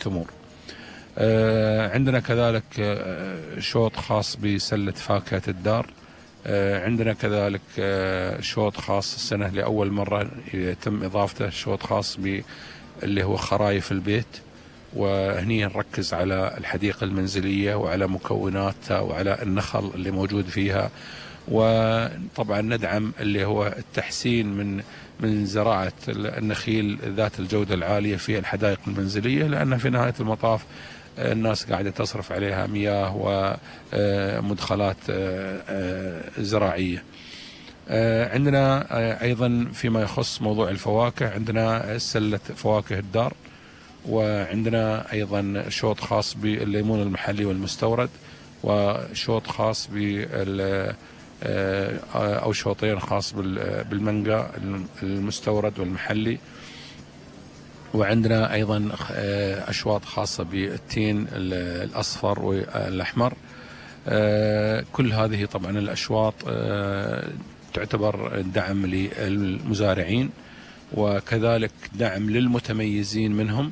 التمور. عندنا كذلك شوط خاص بسلة فاكهة الدار. عندنا كذلك شوط خاص السنة لأول مرة يتم إضافته شوط خاص اللي هو خرايف البيت، وهني نركز على الحديقة المنزلية وعلى مكوناتها وعلى النخل اللي موجود فيها، وطبعا ندعم اللي هو التحسين من زراعة النخيل ذات الجودة العالية في الحدائق المنزلية، لأن في نهاية المطاف الناس قاعدة تصرف عليها مياه ومدخلات زراعية. عندنا أيضا فيما يخص موضوع الفواكه عندنا سلة فواكه الدار، وعندنا أيضا شوط خاص بالليمون المحلي والمستورد، وشوط خاص أو شوطين خاص بالمانجا المستورد والمحلي، وعندنا أيضا أشواط خاصة بالتين الأصفر والأحمر. كل هذه طبعا الأشواط تعتبر دعم للمزارعين، وكذلك دعم للمتميزين منهم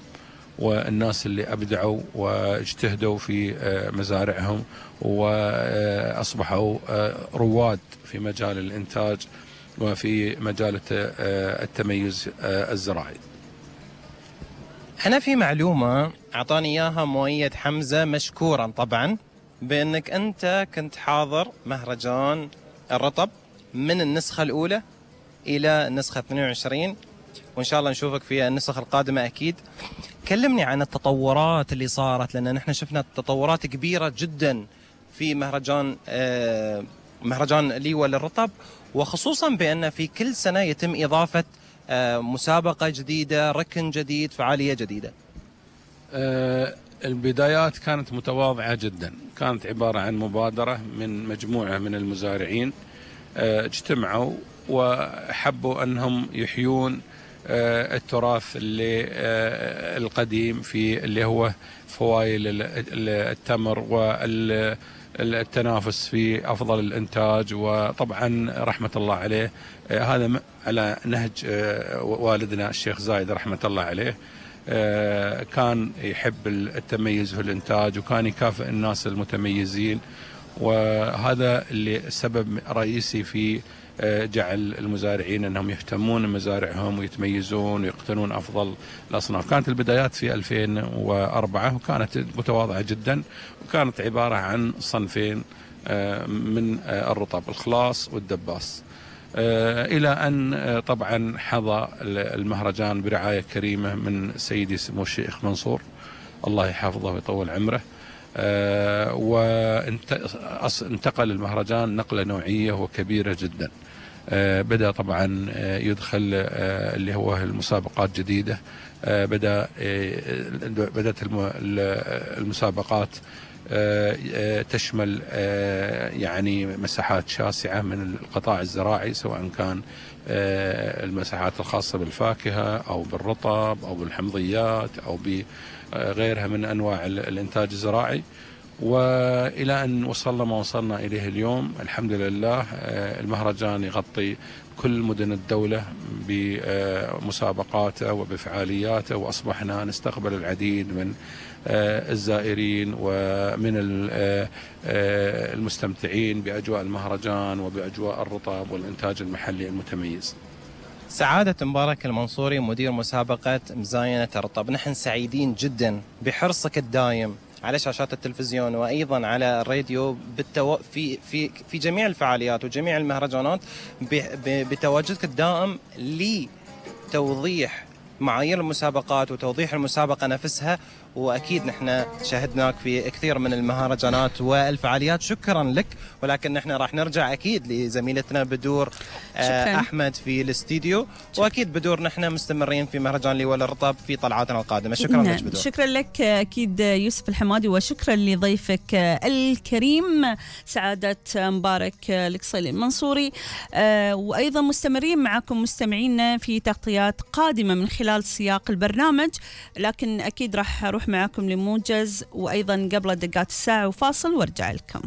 والناس اللي أبدعوا واجتهدوا في مزارعهم وأصبحوا رواد في مجال الإنتاج وفي مجال التميز الزراعي. أنا في معلومة أعطاني إياها مؤيد حمزة مشكورا طبعا، بأنك أنت كنت حاضر مهرجان الرطب من النسخة الأولى إلى النسخة 22، وإن شاء الله نشوفك في النسخ القادمة أكيد. كلمني عن التطورات اللي صارت، لأن نحن شفنا تطورات كبيرة جدا في مهرجان ليوى للرطب، وخصوصا بأن في كل سنة يتم إضافة مسابقة جديدة، ركن جديد، فعالية جديدة. البدايات كانت متواضعة جدا، كانت عبارة عن مبادرة من مجموعة من المزارعين اجتمعوا وحبوا أنهم يحيون التراث اللي القديم في اللي هو فوائل التمر والتنافس في أفضل الإنتاج. وطبعا رحمة الله عليه هذا على نهج والدنا الشيخ زايد رحمة الله عليه، كان يحب التميز في الإنتاج وكان يكافئ الناس المتميزين، وهذا اللي سبب رئيسي في جعل المزارعين أنهم يهتمون بمزارعهم ويتميزون ويقتنون أفضل الأصناف. كانت البدايات في 2004 وكانت متواضعة جدا، وكانت عبارة عن صنفين من الرطب، الخلاص والدباس، إلى أن طبعا حظى المهرجان برعاية كريمة من سيدي سمو الشيخ منصور الله يحفظه ويطول عمره، وانتقل المهرجان نقلة نوعية وكبيرة جدا. بدأ طبعا يدخل اللي هو المسابقات جديدة، بدأت المسابقات تشمل يعني مساحات شاسعة من القطاع الزراعي، سواء كان المساحات الخاصة بالفاكهة أو بالرطب أو بالحمضيات أو بغيرها من أنواع الإنتاج الزراعي، وإلى أن وصلنا ما وصلنا إليه اليوم. الحمد لله المهرجان يغطي كل مدن الدولة بمسابقاته وبفعالياته، وأصبحنا نستقبل العديد من الزائرين ومن المستمتعين بأجواء المهرجان وبأجواء الرطب والإنتاج المحلي المتميز. سعادة مبارك المنصوري مدير مسابقة مزاينة الرطب، نحن سعيدين جدا بحرصك الدائم على شاشات التلفزيون وأيضا على الراديو في جميع الفعاليات وجميع المهرجانات، بتواجدك الدائم لتوضيح معايير المسابقات وتوضيح المسابقة نفسها. وأكيد نحن شاهدناك في كثير من المهرجانات والفعاليات، شكرا لك. ولكن نحن راح نرجع أكيد لزميلتنا بدور أحمد في الاستديو، وأكيد بدور نحن مستمرين في مهرجان ليوى للرطب في طلعاتنا القادمة. شكرا لك بدور. شكرا لك أكيد يوسف الحمادي، وشكرا لضيفك الكريم سعادة مبارك القصيلي المنصوري. وأيضا مستمرين معكم مستمعينا في تغطيات قادمة من خلال سياق البرنامج، لكن أكيد راح أروح معكم لموجز وأيضا قبل دقات الساعة وفاصل وارجع لكم.